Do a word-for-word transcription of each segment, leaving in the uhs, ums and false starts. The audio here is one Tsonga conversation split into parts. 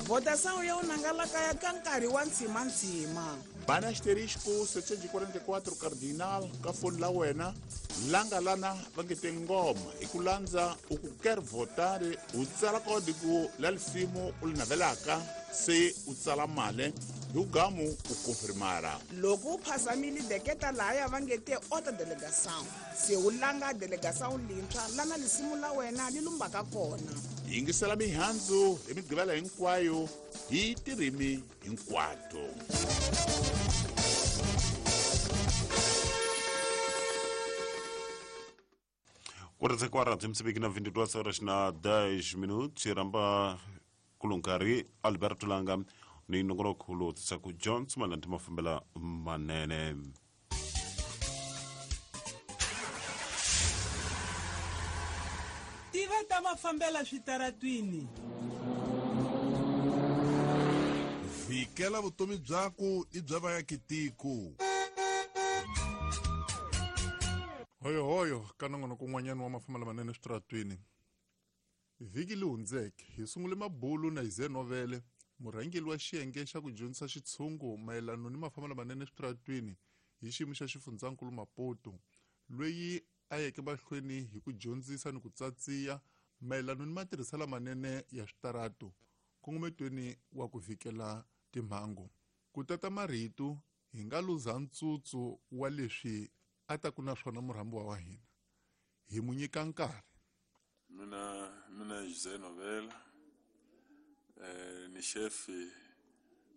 Votação ya unangalakaya ka nkarhi wa ntshimantshima. Bana asterisco setecentos e quarenta e quatro cardinal ka foni la wena langa lana va nge te ngoma hi ku landza u ku quer votar u tsala código la lisimu u li navelaka se u tsala mali hi ugamu u confirmara. Loko u phasamile deketa lahaya va nge te outra delegação se u langa delegação lintshwa lana lisimu la wena li lumbaka kona. Yingisela mihandzu hi migqivela hinkwayo hi tirimi hinkwato. Quarta quarta Moçambique na vinte e duas horas na dez minutos ramba kulunkari Alberto Langa ni nongoloko tsaku Johnson malandi mafambela manene. Tiva ta mafambela switaratwini. Vikela vutomi byaku i bya vaakitiko. Hoyo hoyo ka nongonoko kun'wanyana wa mafambela manene switaratwini. Vhiki li hundzeke hi sungule mabulu na Ize Novele, murhangeri wa xiyenge xa ku dyondzisa xitshungu mayelana ni mafambelo manene switaratwini hi xiyimo xa xifundzankulu Maputo, loyi a yeke mahlweni hi ku dyondzisa ni ku tsatsiya mayelana ni matirhiselo manene ya switaratu nkongometweni wa ku vikela timhangu. Ku tata marito hi nga luza ntsutsu wa leswi a ta ku na swona murhambiwa wa hina hi mu nyika nkarhi. Mina mina José Novela, eh, ni chefe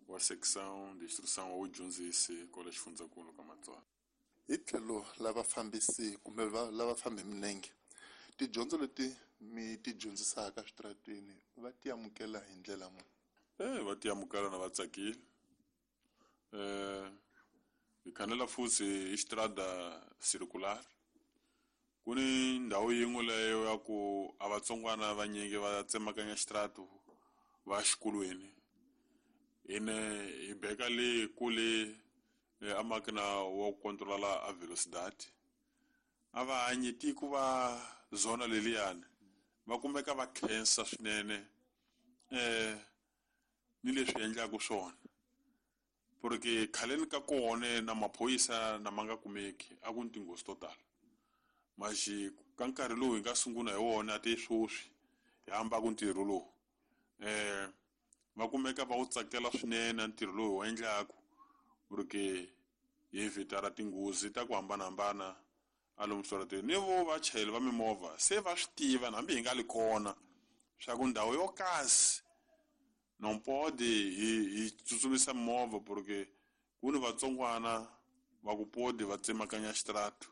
wa secção de instrução ao dyondzisi kwala xifundzankulu ka Matsonga. Hi tlhelo lava fambisi kumbe lava fambi minenge, tidyondzo leti mi ti dyondzisaka switaratwini va ti amukela hi ndlela muni? Eh, va ti amukela na va tsakile. Eh, hi khanela futhi estrada circular. Ku ni ndhawu yin'we leyo ya ku a vatsongwana vanyingi va tsemakanya xitaratu va xikolweni. Ene hi beka le kule a makina wa ku controla a velocidade. A va hanyi tiko va zona leliyani va kumeka va khensa swinene eh ni leswi endlaka swona. Porque khaleni ka kona na maphorisa na ma nga kumeki a ku ni tinghozi to tala. Maxi ka nkarhi lowu hi nga sungula hi wona te sweswi hi hamba ku ntirho lowu eh va kumeka va wu tsakela swinene ntirho lowu hi wu endlaku porque hi evitara tinghozi ta ku hambanahambana a lomu switarateni. Ni vo vachayeri va mimovha se va swi tiva hambi hi nga li kona swa ku ndhawu yo kasi non pode hi hi tsutsumisa movha porque ku ni vatsongwana va ku podi va tsemakanya xitaratu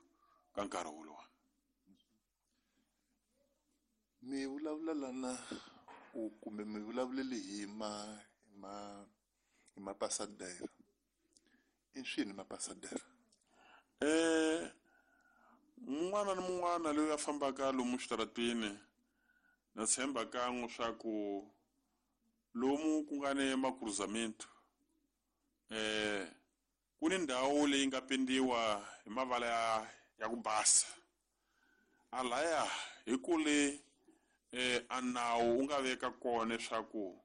ka nkarhi wolowo. Mi vulavula lana u kumbe mi vulavulele hi ma hi ma hi mapasadera. I swini mapasadera? Eh mun'wana ni mun'wana loyi a fambaka lomu switaratwini na tshemba kan'we swa ku lomu ku nga ni makruzamento eh ku ni ndhawu leyi nga pendiwa hi mavala ya ya ku basa. A laya hi kule eh a nawu wu nga veka kona leswaku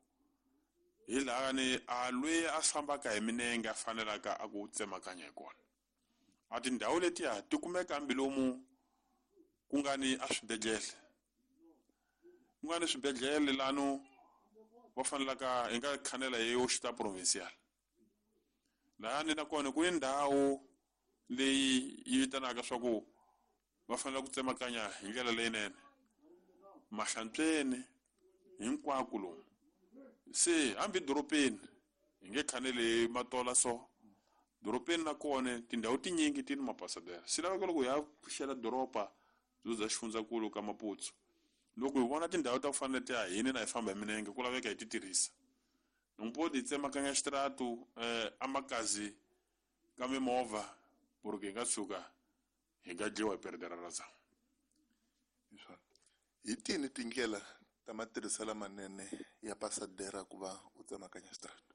hi laha ni a loyi a fambaka hi minenge a fanelaka a ku tsemakanya hi kona. A tindhawu letiya ti kumeka hambi lomu ku nga ni a swibedhlele. Ku nga ni swibedhlele lano va fanelaka hi nga khanela hi hospital provincial. Laha ni na kona ku ni ndhawu leyi yi vitanaka swa ku va fanele ku tsemakanya hi ndlela leyinene. Mahlantsweni hinkwako lomu. Se hambi dorobeni hi nge khaneli matola so dorobeni na kona tindhawu tinyingi ti ni mapasadera. Swi laveka loko hi ya pfuxela doroba byo bya xifundzankulu ka Maputo. Loko hi vona tindhawu ta ku fana na letiya hina na hi famba hi minenge ku laveka hi ti tirhisa. Nompo hi tsemakanya xitaratu eh amakazi ka mimovha porque hi nga tshuka hi nga dyiwa hi perdera ra za. Hi tini tindlela ta matirhiselo manene ya pasadera ku va u tsemakanya xitaratu?